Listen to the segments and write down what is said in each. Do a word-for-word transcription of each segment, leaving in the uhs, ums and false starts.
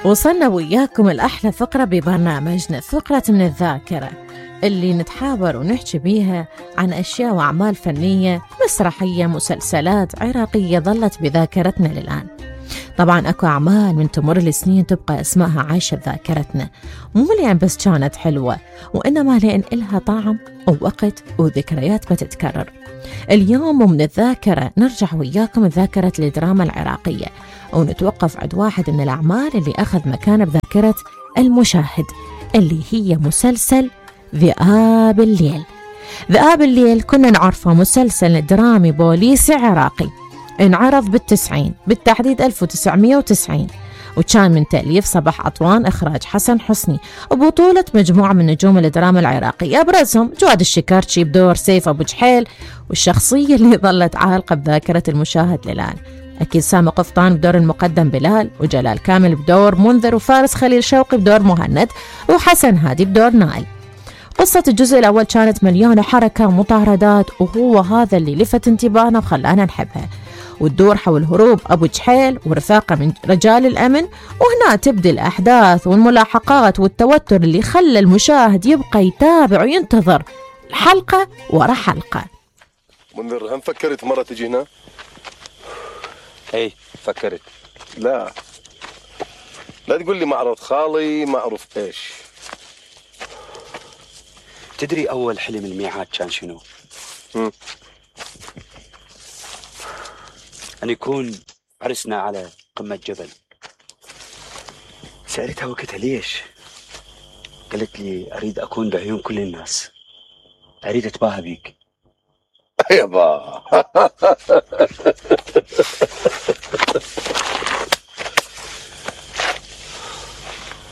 وصلنا وياكم الأحلى فقرة ببرنامجنا، فقرة من الذاكرة، اللي نتحاور ونحكي بيها عن أشياء وأعمال فنية، مسرحية، مسلسلات عراقية ظلت بذاكرتنا للآن. طبعاً أكو أعمال من تمر السنين تبقى اسمها عايشة بذاكرتنا، مو لأن بس كانت حلوة، وإنما لأن إلها طعم ووقت وذكريات بتتكرر. اليوم ومن الذاكرة نرجع وياكم ذاكرة الدراما العراقية، ونتوقف عند واحد من الأعمال اللي أخذ مكانه بذاكرة المشاهد، اللي هي مسلسل ذئاب الليل. ذئاب الليل كنا نعرفه مسلسل درامي بوليسي عراقي، انعرض بالتسعين، بالتحديد ألف وتسعمية وتسعين، وكان من تأليف صباح عطوان، إخراج حسن حسني، وبطولة مجموعة من نجوم الدراما العراقية، أبرزهم جواد الشكارشي بدور سيف أبو جحيل، والشخصية اللي ظلت عالقة بذاكرة المشاهد للآن أكيد سامي قفطان بدور المقدم بلال، وجلال كامل بدور منذر، وفارس خليل شوقي بدور مهند، وحسن هادي بدور نائل. قصة الجزء الأول كانت مليانة حركة ومطاردات، وهو هذا اللي لفت انتباهنا وخلانا نحبها، وتدور حول هروب أبو جحيل ورفاقه من رجال الأمن، وهنا تبدأ الأحداث والملاحقات والتوتر اللي خلى المشاهد يبقى يتابع وينتظر حلقة ورا حلقة. منذر، هم فكرت مرة تجي هنا؟ اي فكرت. لا لا تقول لي معرض خالي معروف ايش. تدري أول حلم الميعاد كان شنو؟ هم. أن يكون عرسنا على قمة جبل. سألتها وقتها ليش؟ قالت لي أريد أكون بعيون كل الناس، أريد أتباهى بيك. يابا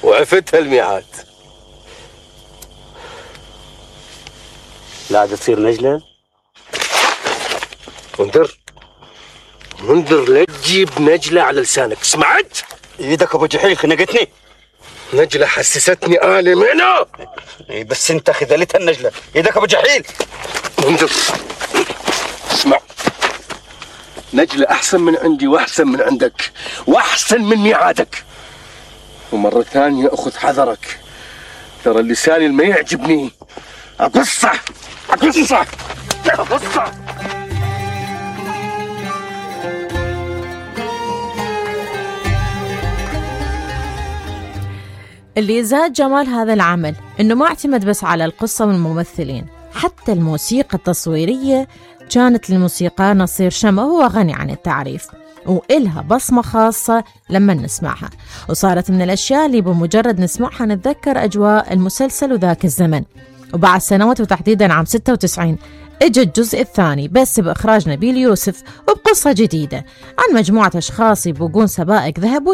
وعفتها الميعاد. لا تصير نجلة. منذر منذر لا تجيب نجلة على لسانك، سمعت؟ ايدك ابو جحيل خنقتني. نجلة حسستني آلي منه. اي بس انت خذلتها النجلة، ايدك ابو جحيل. منذر اسمع، نجلة احسن من عندي واحسن من عندك واحسن من ميعادك، ومرة ثانية اخذ حذرك، ترى اللسان اللي ما يعجبني اقصه اقصه اقصه. اللي زاد جمال هذا العمل إنه ما اعتمد بس على القصة والممثلين، حتى الموسيقى التصويرية كانت للموسيقار نصير شمع، وهو غني عن التعريف، وإلها بصمة خاصة لما نسمعها، وصارت من الأشياء اللي بمجرد نسمعها نتذكر أجواء المسلسل وذاك الزمن. وبعد سنوات وتحديدا عام ستة وتسعين اجى الجزء الثاني بس بإخراج نبيل يوسف، وبقصة جديدة عن مجموعة أشخاص يبوقون سبائك ذهب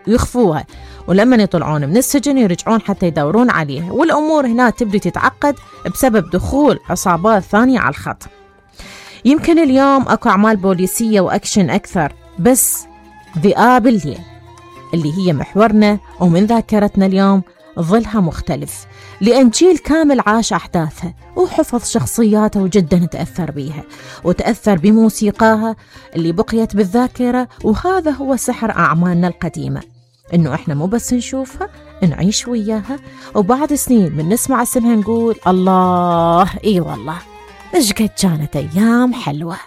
ويخفوها، ولما يطلعون من السجن يرجعون حتى يدورون عليها، والأمور هنا تبدي تتعقد بسبب دخول عصابات ثانية على الخط. يمكن اليوم أكو أعمال بوليسية وأكشن أكثر، بس ذئاب الليل اللي هي محورنا ومن ذاكرتنا اليوم ظلها مختلف، لأن جيل كامل عاش أحداثها وحفظ شخصياتها وجدا تأثر بيها وتأثر بموسيقاها اللي بقيت بالذاكرة. وهذا هو سحر أعمالنا القديمة، إنه إحنا مو بس نشوفها، نعيش وياها، وبعد سنين من نسمع اسمها نقول الله إي والله إيش قد كانت أيام حلوة.